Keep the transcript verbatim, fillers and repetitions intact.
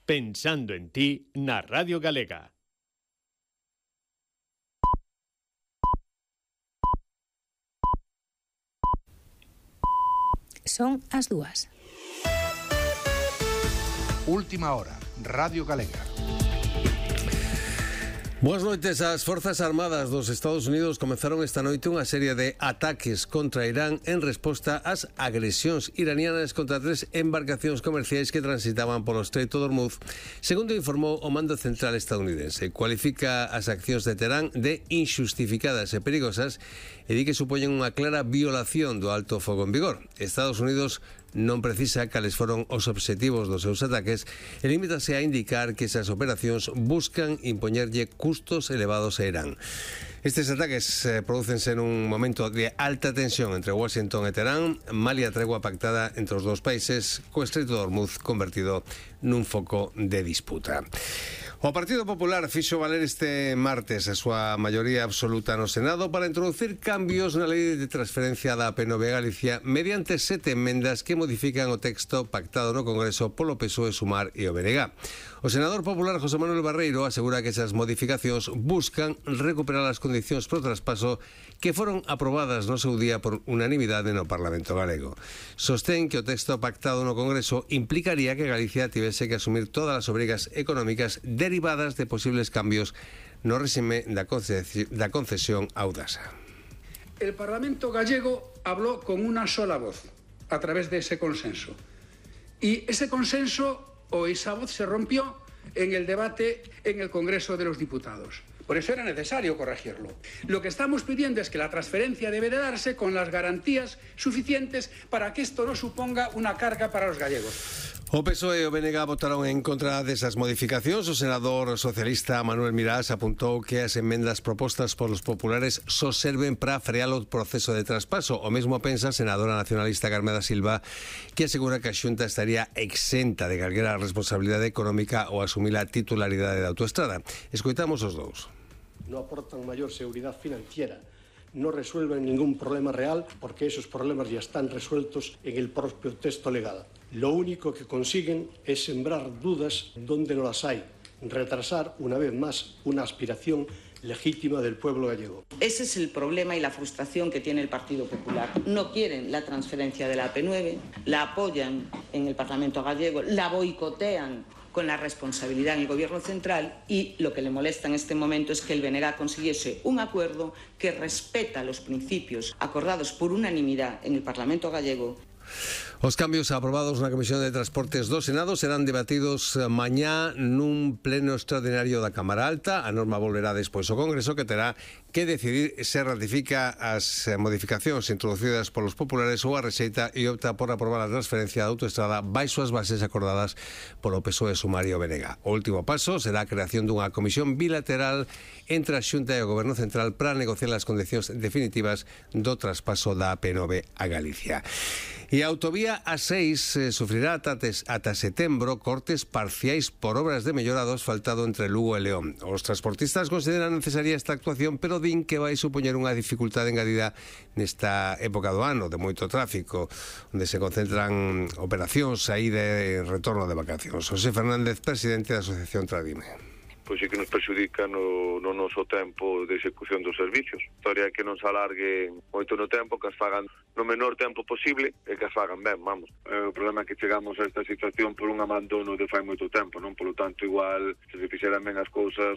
Pensando en ti na Radio Galega. Son as dúas. Última hora, Radio Galega. Boas noites. As Forzas Armadas dos Estados Unidos comenzaron esta noite unha serie de ataques contra Irán en resposta ás agresións iranianas contra tres embarcacións comerciais que transitaban polo Estreito de Hormuz, segundo informou o Mando Central estadounidense. Cualifica as accións de Teherán de injustificadas e perigosas e di que supoñen unha clara violación do alto fogo en vigor. Estados Unidos non precisa cales foron os obxectivos dos seus ataques e limítase a indicar que esas operacións buscan impoñerlle custos elevados a Irán. Estes ataques eh, prodúcense nun momento de alta tensión entre Washington e Teherán, malia tregua pactada entre os dous países, co Estreito de Hormuz convertido nun foco de disputa. O Partido Popular fixo valer este martes a súa maioría absoluta no Senado para introducir cambios na lei de transferencia da P N V a Galicia mediante sete emendas que modifican o texto pactado no Congreso polo P S O E, Sumar e o B N G. O senador popular José Manuel Barreiro asegura que esas modificacións buscan recuperar as condicións pro traspaso que foron aprobadas no seu día por unanimidade no Parlamento galego. Sostén que o texto pactado no Congreso implicaría que Galicia tivese que asumir todas as obrigas económicas derivadas de posibles cambios no réxime da concesión a Audasa. El Parlamento gallego habló con una sola voz a través de ese consenso. Y ese consenso o esa voz se rompió en el debate en el Congreso de los Diputados. Por eso era necesario corregirlo. Lo que estamos pidiendo es que la transferencia debe de darse con las garantías suficientes para que esto no suponga una carga para los gallegos. O P S O E e o B N G votaron en contra desas modificacións. O senador socialista Manuel Mirás apuntou que as emendas propostas polos populares só serven para frear o proceso de traspaso. O mesmo pensa a senadora nacionalista Carmen da Silva, que asegura que a Xunta estaría exenta de calquera responsabilidade económica ou asumir a titularidade da autoestrada. Escoitamos os dous. No aportan maior seguridade financiera, no resuelven ningún problema real porque esos problemas ya están resueltos en el propio texto legal. Lo único que consiguen es sembrar dudas donde no las hay, retrasar una vez más una aspiración legítima del pueblo gallego. Ese es el problema y la frustración que tiene el Partido Popular. No quieren la transferencia de la A P nueve, la apoyan en el Parlamento gallego, la boicotean con la responsabilidad en el Gobierno central y lo que le molesta en este momento es que el B N G consiguiese un acuerdo que respeta los principios acordados por unanimidad en el Parlamento gallego. Os cambios aprobados na Comisión de Transportes do Senado serán debatidos mañá nun pleno extraordinario da Cámara Alta. A norma volverá despois ao Congreso, que terá que decidir se ratifica as modificacións introducidas polos populares ou a rexeita e opta por aprobar a transferencia da autoestrada baixo as bases acordadas polo P S O E, Sumar e o B N G. O último paso será a creación dunha comisión bilateral entre a Xunta e o Goberno Central para negociar as condicións definitivas do traspaso da A P nove a Galicia. E a autovía A seis eh, sufrirá ata, ata setembro cortes parciais por obras de mellora do asfaltado entre Lugo e León. Os transportistas consideran necesaria esta actuación, pero din que vai supoñer unha dificultade engadida nesta época do ano de moito tráfico, onde se concentran operacións aí de retorno de vacacións. José Fernández, presidente da Asociación Tradime. Pois é que nos perxudica no, no noso tempo de execución dos servicios. A historia é que non se alargue moito no tempo, que as fagan no menor tempo posible e que as fagan ben, vamos. O problema é que chegamos a esta situación por un abandono de fai moito tempo, non? Polo tanto, igual, se se fixeran ben as cousas,